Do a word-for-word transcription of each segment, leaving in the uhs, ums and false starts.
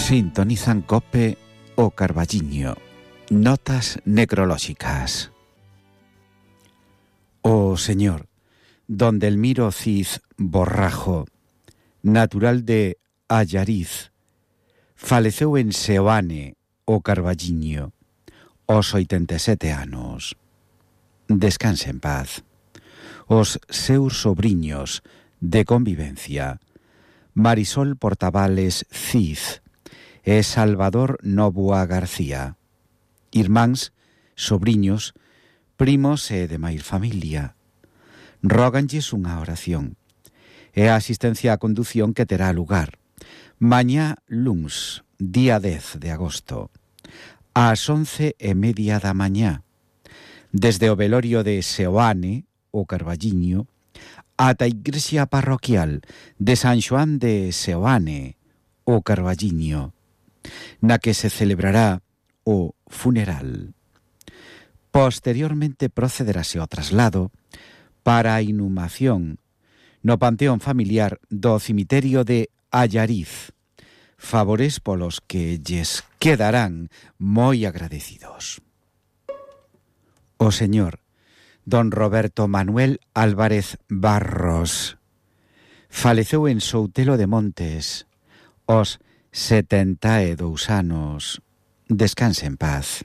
Sintonizan Cope o Carballiño. Notas necrolóxicas. O señor Don Delmiro Cid Borrajo, natural de Allariz, faleceu en Seoane, o Carballiño, aos oitenta e sete anos. Descanse en paz. Os seus sobriños de convivencia, Marisol Portavales Cid e Salvador Novoa García, irmáns, sobriños, primos e demais familia, róganlles unha oración e a asistencia á condución que terá lugar mañá luns, día dez de agosto, ás once e media da mañá, desde o velorio de Seoane, o Carballiño, ata a igrexa parroquial de San Xoán de Seoane, o Carballiño, na que se celebrará o funeral. Posteriormente procederase ao traslado para a inhumación no panteón familiar do cemiterio de Allariz, favores polos que lles quedarán moi agradecidos. O señor Don Roberto Manuel Álvarez Barros faleceu en Soutelo de Montes aos setenta e dous anos. Descanse en paz.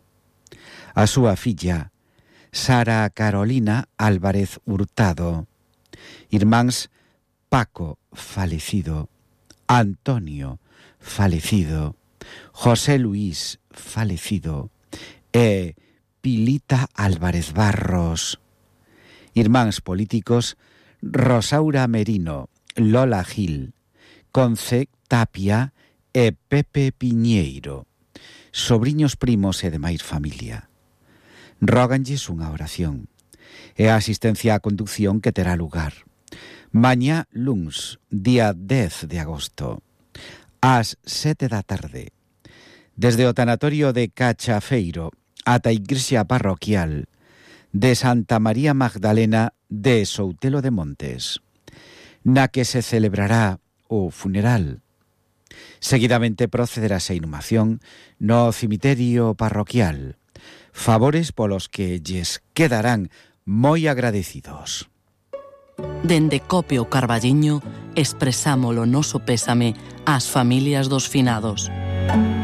A súa filla Sara Carolina Álvarez Hurtado, irmáns Paco falecido, Antonio falecido, José Luis falecido e Pilita Álvarez Barros, irmáns políticos Rosaura Merino, Lola Gil, Conce Tapia e Pepe Piñeiro, sobriños, primos e demais familia. Róganlles unha oración e a asistencia á conducción que terá lugar mañá luns, día dez de agosto, ás sete da tarde, desde o tanatorio de Cachafeiro ata a igrexa parroquial de Santa María Magdalena de Soutelo de Montes, na que se celebrará o funeral. Seguidamente procederase a inhumación no cemiterio parroquial, favores polos que lles quedarán moi agradecidos. Dende Cope o Carballiño expresamos o noso pésame ás familias dos finados.